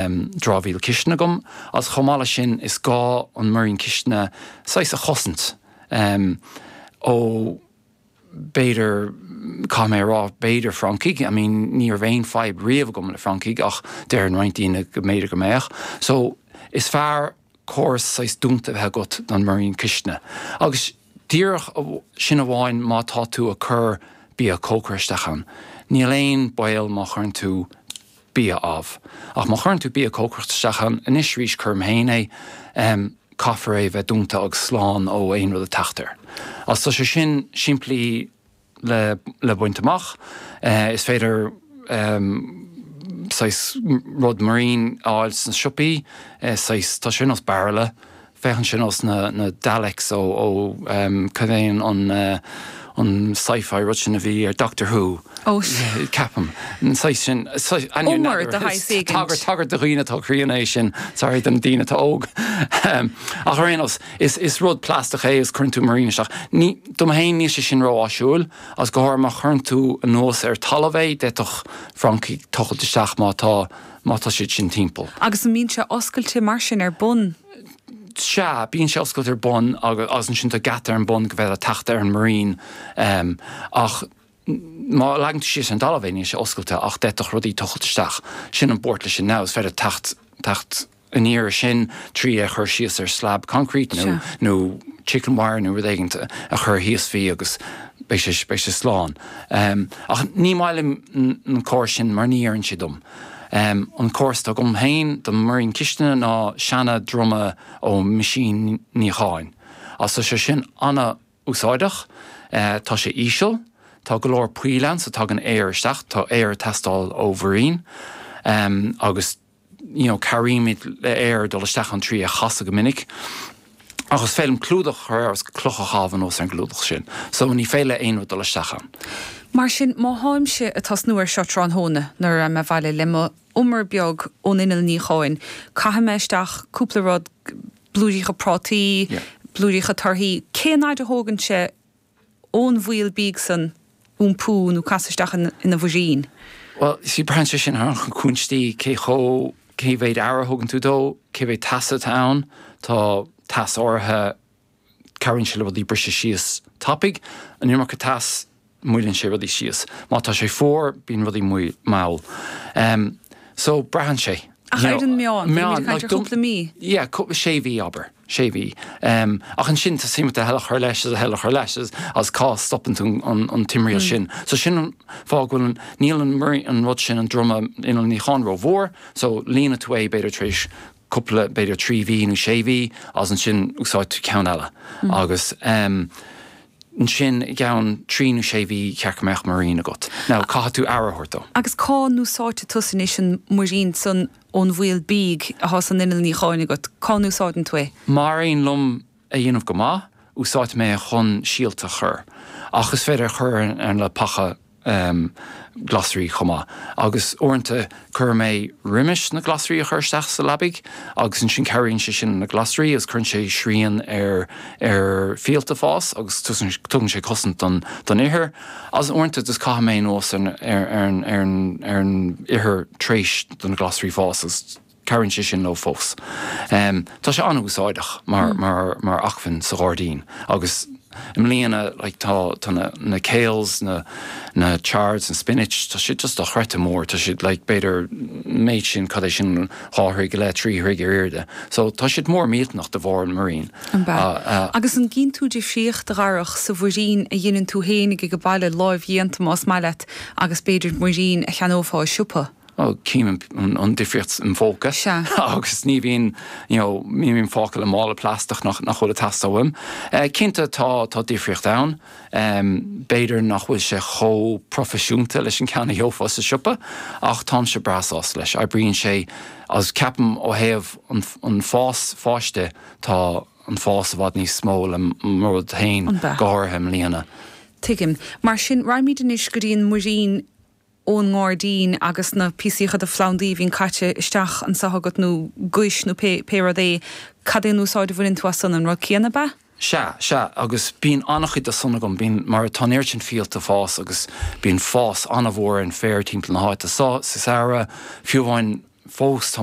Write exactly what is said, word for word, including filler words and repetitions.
dramhaíl cistine agam, agus chomh maith leis sin is gá an muirín cistine saghas a chosaint ó b'fhéidir, caithfidh mé a rá, b'fhéidir francaigh, I mean ní raibh aon fadhb riamh agam le francaigh ach deireann roinnt daoine go mb'fhéidir go mbeadh. So is fearr córas saghas dúnta a bheith agat don muirín cistine. Agus díreach sin amháin má tá tú ag cur bia cócair isteach ann. Níl aon baol má chuireann tú bia amh. Ach má chuireann tú bia cócaireachta isteach ann, anois arís cuirim féin é, caithfear é a bheith dúnta agus slán ó aon rud ag teacht air. Agus tá sé sin simplí le le baint amach. Is féidir saghas rud muirín a fháil sna siopaí, saghas, tá sé ar nós bairille, féachann sé nós na na Daleks ó ó cad é an an sci-fi rud sin a bhí ar Doctor Who? Ó ceapaim. An saghas sin Umar de shaghas éigint. Tagairt tagairt do dhaoine atá críonna é sin, sorry do na daoine atá óg. Ach ar aon nós, is is rud plaisteach é agus cuireann tú muirín isteach. Ní dom féin níl sé sin ró-áisiúil agus go háirithe má chuireann tú anuas ar talamh é, d'fhéadfadh francaigh tochailt isteach má tá má tá siad sin timpeall. Agus an mbíonn sé oscailte mar sin ar bun? Sea, bíonn sé oscailte ar bun agus ansin tá geata ar an bun go bhféadfá teacht ar an muirín. Ach má leagann tú síos ar an dtalamh é, níl sé oscailte ach d'fhéadfadh rudaí tochailt isteach. Sin an buairt leis sin now, is féidir teacht, teacht aniar air sin trí é a chur síos ar slab concrete nó, nó chicken wire nó rud éigin a chur thíos faoi agus beidh sé, beidh sé slán. Ach ní maith liom an córas sin mar ní oireann sé dom. An córas atá agam féin don muirín cistine ná seana druma ó meaisín níocháin. Agus tá sé sin an-úsáideach. Tá sé íseal, tá go leor poill ann so tagann aer isteach, tá aer ag teastáil ó mhuirín agus you know cabhraímid le aer dul isteach ann trí é a chasadh go minic. Ach is féidir liom clúdach a chur air agus cloch a chaitheamh anuas ar an gclúdach sin. So ní féidir le aon rud dul isteach ann. Mar sin, má tháimse ag tosnú air seo tráthnóna nuair a raghaidh mé abhaile le mo umar beag ón inneall níocháin, caithfidh mé isteach cúpla rud, blúiríocha prátaí, blúiríocha torthaí, cén fhaid a thógann sé ón bhfuíoll bídh san iompú nó casadh isteach ina mhuirín? Bhuel, see, braitheann sé sin ar na cúinsí, cé chomh, cé mhéad aire a thugann tú dó, cé mhéad teasa atá ann, tá teas áirithe, cabhraíonn sé le rudaí briseadh síos tapaidh, an iomarca teas, moilleann sé rudaí síos. Má tá sé fuar, bíonn rudaí mall. So, braitheann sé. Ach ar an meán, bímid ag caint ar chúpla mí. Yeah, sé mhí, abair. Sé mhí. Ach ansin tá suim agat a thuilleadh a chur leis agus a thuilleadh a chur leis agus cá stopann tú an timthriall sin. So sin an fáth go bhfuil an, níl an, an rud sin, an druma inneall níocháin rómhór, so líonann tú é b'fhéidir tar éis cúpla, b'fhéidir trí mhí nó sé mhí agus ansin úsáid tú ceann eile. Agus ansin i gceann trí nó sé mhí cheart go mbeadh muirín agat. Now caithfidh tú aire a thabhairt dó. Agus cá n-úsáidfidh tusa anois an muirín san ón bhfuíoll bídh atá san inneall níocháin agat? Cá n-úsáideann tú é? Má éiríonn liom é a dhéanamh go maith, úsáidfidh mé é chun síolta a chur. Ach is féidir é a chur ar le paca glasraí chomh maith. Agus uaireanta cuirim é roimis na glasraí a chur isteach sa leabaidh agus ansin cabhraíonn sé sin na glasraí agus cuireann sé srian ar ar fhíolta fás agus tugann sé cosaint don don ithir. Agus uaireanta just caithim é anuas ar ar ar ar ar an ithir tar éis do na glasraí fás agus Cabhraíonn sé sin leo fós. Tá sé an-úsáideach mar mar mar acmhainn sa ghairdín agus i mbliana like tá tá na na kales, na na chards, na spinach, tá siad just dochreidte mór, tá siad like b'fhéidir méid sin, cad é sin, dhá throigh go leith, trí throigh ar airde. So tá siad mór millteanach de bharr an muirín. An ea? Agus an gcíonn tú difríocht, a Dharach, sa mhuirín a dheineann tú fhéinig ag baile, láimh-dhéanta más maith leat, agus b'fhéidir muirín a cheannófá i siopa? Bhuel, cím an difríocht im phóca agus ní bhíonn, you know, ní bhím fágtha le mála plaisteach nach bhfuil ag teastáil uaim. Cinnte tá tá difríocht ann. B'fhéidir nach bhfuil sé chomh proifisiúnta leis an ceann a gheofá sa siopa ach táimse breá sásta leis. Oibríonn sé agus ceapaim ó thaobh an an fás fáis de tá an fás i bhfad níos mó le mo rud féin, go háirithe i mbliana. Tuigim. Mar sin, raghaimid anois go dtí an muirín ón ngairdín agus na píosaíocha de phlandaí a bhíonn caite isteach anso agat nó guais nó pé pé rud é, cad é an úsáid a bhaineann tú as san, an rud céanna ab ea? Sea, sea, agus bíonn an-chuid de san agam, bíonn, mar tá an oiread sin fíolta ag fás agus bíonn fás an-mhór ar an féar timpeall na háite so, sa samhradh, fiú amháin Fós tá